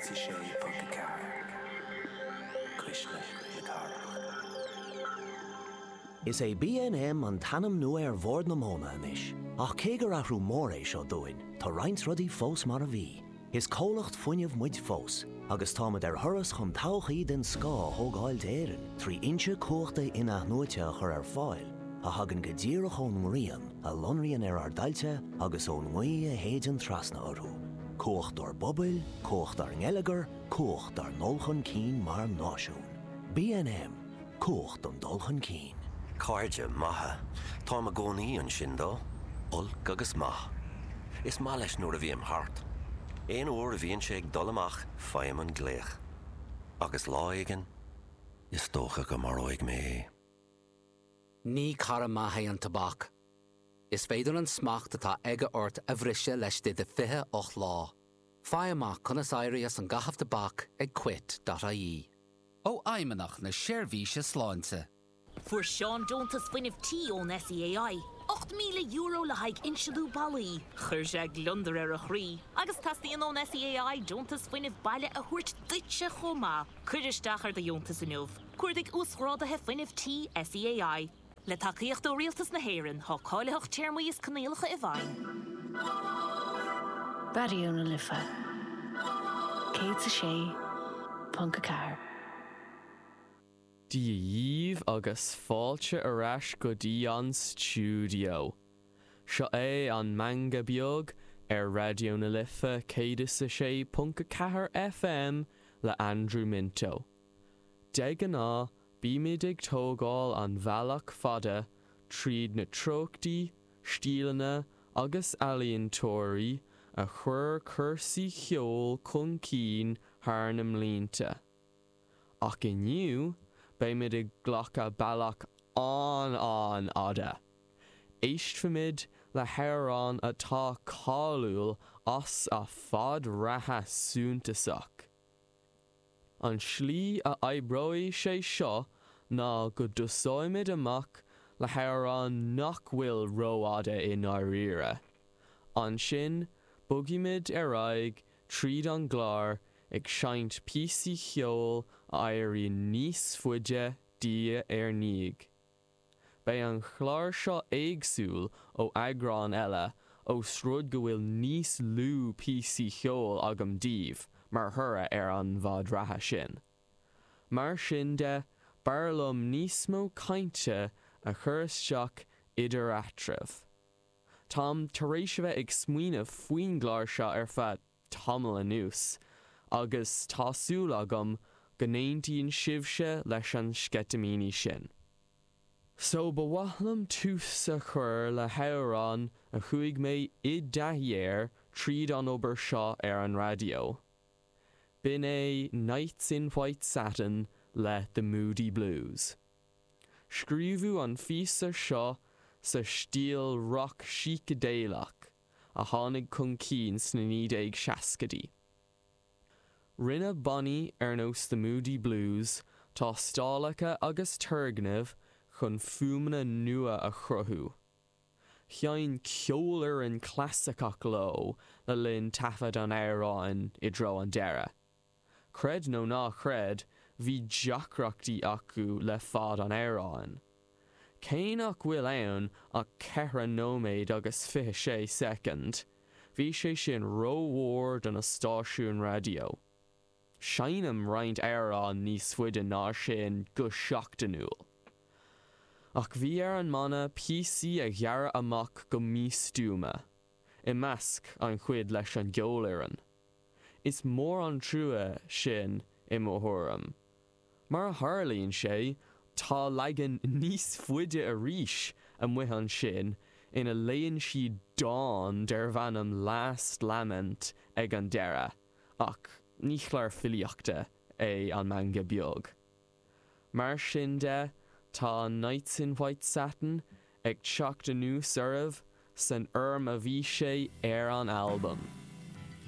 106.4, Cuisle na Cathrach. Is é BNM an t-ainm nua ar Bhord na Móna anois, ach cé gur athrú mór é seo dúinn, tá roinnt rudaí fós mar a bhí. Is comhlacht fuinnimh muid fós, agus táimid ar thuras chun todhchaí den scoth a thógáil d'Éirinn trí fhoinse cumhachta in-athnuaite a chur ar fáil a thagann go díreach ón ngrian a lonraíonn ar ár dtailte agus ón ngaoth a shéideann trasna orthu. Cumhacht dár bpobail, cumhacht dár ngeilleagar, cumhacht dár ndul chun cinn mar náisiún. BNM. Cumhacht don dul chun cinn. Cairde maithe. Táim i gcónaí ansin dó, olc agus maith. Is maith leis nuair a bhím thart. Aon uair a bhíonn sé ag dul amach faighim an glaoch. Agus lá éigin, is dócha go maróidh mé é. Ní cara maith é an tobac. Is féidir an smacht atá aige ort a bhriseadh laistigh de 28 lá. Faigh amach conas éirí as an gcaitheamh tobac ag quit.ie. Ó Fheidhmeannacht na Seirbhíse Sláinte. Fuair Seán deontas fuinnimh tí ón SEAI, €8,000 le haghaidh insealú ballaí. Chuir sé gliondar ar a chroí. Agus teastaíonn ón SEAI deontas fuinnimh baile a thabhairt duitse chomh maith. Cuir isteach ar do dheontas inniu. Cuardaigh Uasghráduithe Fuinnimh Tí SEAI. Le tacaíocht ó Rialtas na hÉireann, tá cáilitheacht, téarmaí is coinníollacha i bhfeidhm. Raidió na Life 106.4. Dia dhíbh agus fáilte ar ais go dtí an stiúideo. Seo é an Meangadh Beag ar Raidió na Life 106.4 FM le Andrew Minto. De ghnáth bímid ag tógáil an bhealach fada tríd na treochtaí, stíleanna agus ealaíontóirí a chuir cúrsaí cheoil chun cinn thar na mblianta. Ach inniu beimid ag glacadh bealach an-an-fhada. Éistfimid le hamhrán atá cáiliúil as a fad reatha suntasach. An slí a oibreoidh sé seo ná go dtosóimid amach le hamhrán nach bhfuil rófhada i ndáiríre. Ansin bogfaimid ar aghaidh tríd an gclár ag seinnt píosaí cheoil a éiríonn níos faide diaidh ar ndiaidh. Beidh an clár seo éagsúil ó eagráin eile ós rud go bhfuil níos lú píosaí cheoil agam daoibh mar thoradh ar an bhfad reatha sin. Mar sin de, b'fhearr liom níos mó cainte a chur isteach idir eatraimh. Táim tar éis a bheith ag smaoineamh faoin gclár seo ar feadh tamall anuas agus tá súil agam go n-aontaíonn sibhse leis an sceitimíní sin. So ba mhaith liom tús a chur le hamhrán a chuaigh mé i dtaithí air tríd an obair seo ar an raidió. B'in é Nights in White Satin le The Moody Blues. Scríobhadh an phíosa seo sa stíl roc sícidéalach a tháinig chun cinn sna 1960idí. Rinne bannaí ar nós The Moody Blues tástálacha agus turgnaimh chun fuaimeanna nua a chruthú. Sheinn ceolfhoireann clasaiceach leo le linn taifead an amhráin i dtreo an deireadh. Creid nó ná creid, bhí deacrachtaí acu le fad an amhráin. Cé nach bhfuil ann ach 4 nóiméad agus 26 soicind, bhí sé sin rómhór do na stáisiúin raidió. Seinnim roinnt amhrán níos faide ná sin go seachtainiúil. Ach bhí ar an mbanna píosaí a ghearradh amach go místuama, i measc an chuid leis an gceolfhoireann. Is mór an trua sin i mo thuairim. Mar a tharlaíonn sé, tá leagan níos faide arís amuigh ansin ina léann siad dán darbh ainm Last Lament ag an deireadh, ach ní clár filíochta é an Meangadh Beag. Mar sin de, tá Nights in White Satin ag teacht anuas oraibh san fhoirm a bhí sé ar an albam.